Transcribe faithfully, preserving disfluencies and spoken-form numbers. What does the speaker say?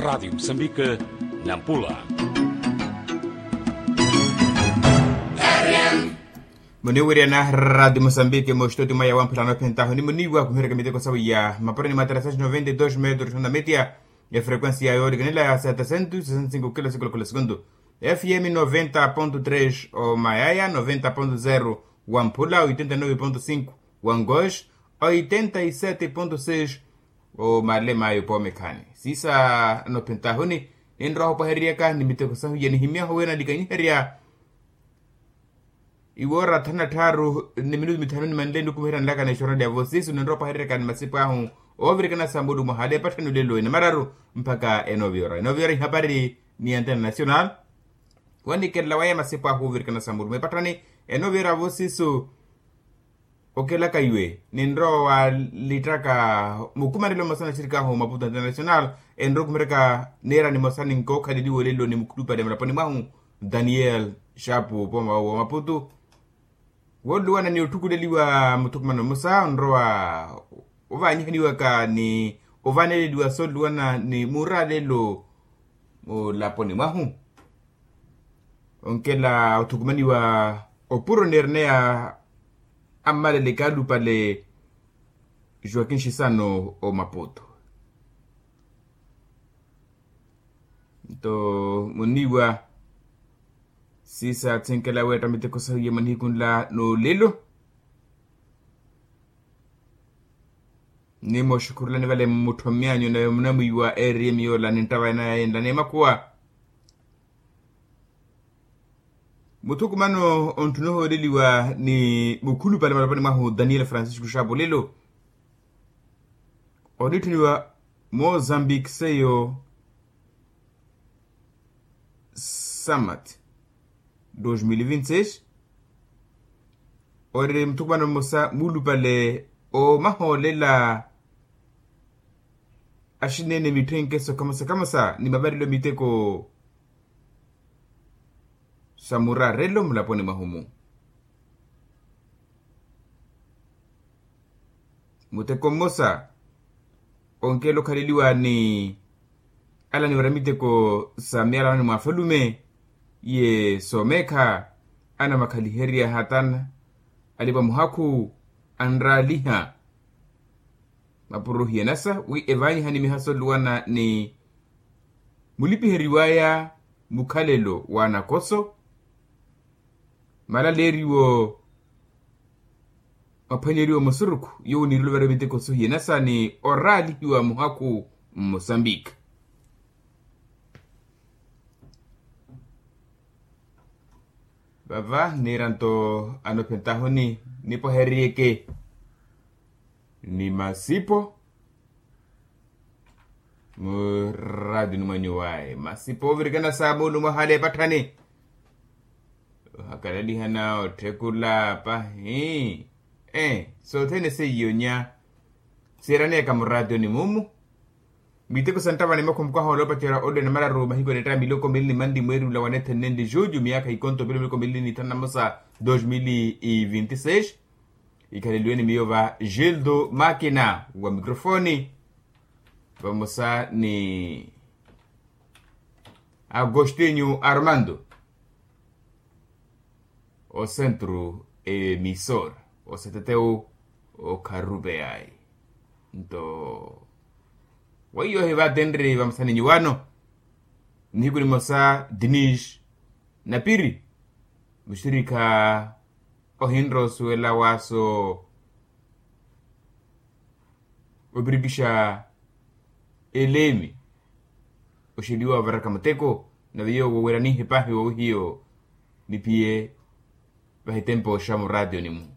Radiyo musambike, nampula. Muniwiriyana radiyo musambike mustoti mwaya wamphulano ophentaho ni muniwa kuhereka miteko sawi ya mapurani matara sas noventa y dos metros na metia. Efrequencia yolikanela ya setesento sesenta y cinco kilo sikolo kula segundu. Fm noventa ponto tres o mayaya noventa ponto zero, wamphula oitenta y nove ponto cinco, wangosh oitenta y sete ponto seis. O malema ayo pomekhani sisa anophentahuni. Ninroha opwaheriyaka ni miteko sahu ya nihimyaho wena nikanyiherya. Iwoora thanu na tthaaru ni minutu mithanu ni manle nikumiherya nlaka na exornali ya vosisu ninroha opwaheriyaka ni masipu ahu. Ovirikana sa mulumo hale epatthani olelo ene mararu mpakha enoviora enoviora ihapari ni antena nacional. Wanikerela waya masipu ahu ovirikana sa mulumo epatthani enoviora vosisu. Okelaka iwe ninrowa walitthaka mukumanelo mmosa na axirikaahu maputo international. Enrowa okumiraka neera nimosa ninkokhaleliwa olelo ni mukhulupale mulaponi mwahu daniel shapu poma wa maputo. Woluwana ni otthukuleliwa muthukumano mmosa onrowa ovaanyihaniwaka ni ovaaneleliwa sooluwana ni muralelo mulaponi mwahu. Onkela othukumaniwa opuro neerneya ammalele kaalupale joaquin xisano omaputo. Nto muniwa sisa athinkela weetta miteko sahu ya manihiku nla n'olelo. Nimoxukhurulani vale mmuttho myanyu nave munamwiiwa eriyemi yoola ninttava enayayenla n'emakhuwa. Muthukumano onttuna ohooleliwa ni mukhulupale malaponi mwahu daniel francisco xaapulelo onitthuniwa mozambique seyo. Samat dos mil e vinte seis. Ori muthukumano mmosa muulupale omahoolela axineene mitthenkeso kamosa kamosa ni mavarelo miteko sa murarelo mulaponi mwahu mu. Muteko mmosa onkela okhaleliwa ni ala niwera miteko sa miyalanoni mwa afalume ye soomeekha anamakhaliherya hatana alipa muhakhu anraaliha. Mapuro hiyanasa wi evaanyiha ni mihaso oluwana ni mulipiheriwaya mukhalelo wa anakoso. Malaleeriwo maphwanyeriwa musurukhu yowo niiruluveriwa miteko sohiyanasa ni oraalihiwa muhakhu mmosambika. Vava niira nto anophentahuni nipwahereriyeke ni masipo. Muradi ni mwanyu waye masipo ovirikana sa mulumo hale epatthani. Ohakalaliha na otthekula pahi. Sothene seiyonya siiraneeka muradioni mumu. Miteko sa nttavani makhumukwaha olopacera olwene mararu mahiku anetta miloko mili ni manli mweeri ula wanethenenli juju miyaakha ikonto pelo miloko mili ni thanu na mosa dos mil e vinte seis. Ikhaleliwe ni miyo va gildo makina wa microfoni vamosa ni agostinho armando o centro emisor o seteteu o kharupe yayi. Nto weiyo hivatenri vamosa ni nyuwano nihiku nimosa dinis napiri muxirikha ohinrosuwela waaso opirikixa eleemi oxeliwa ovaraka muteko. Nave yowo weranihe pahi wowihiyo nipiye vahitempo xa murationi mu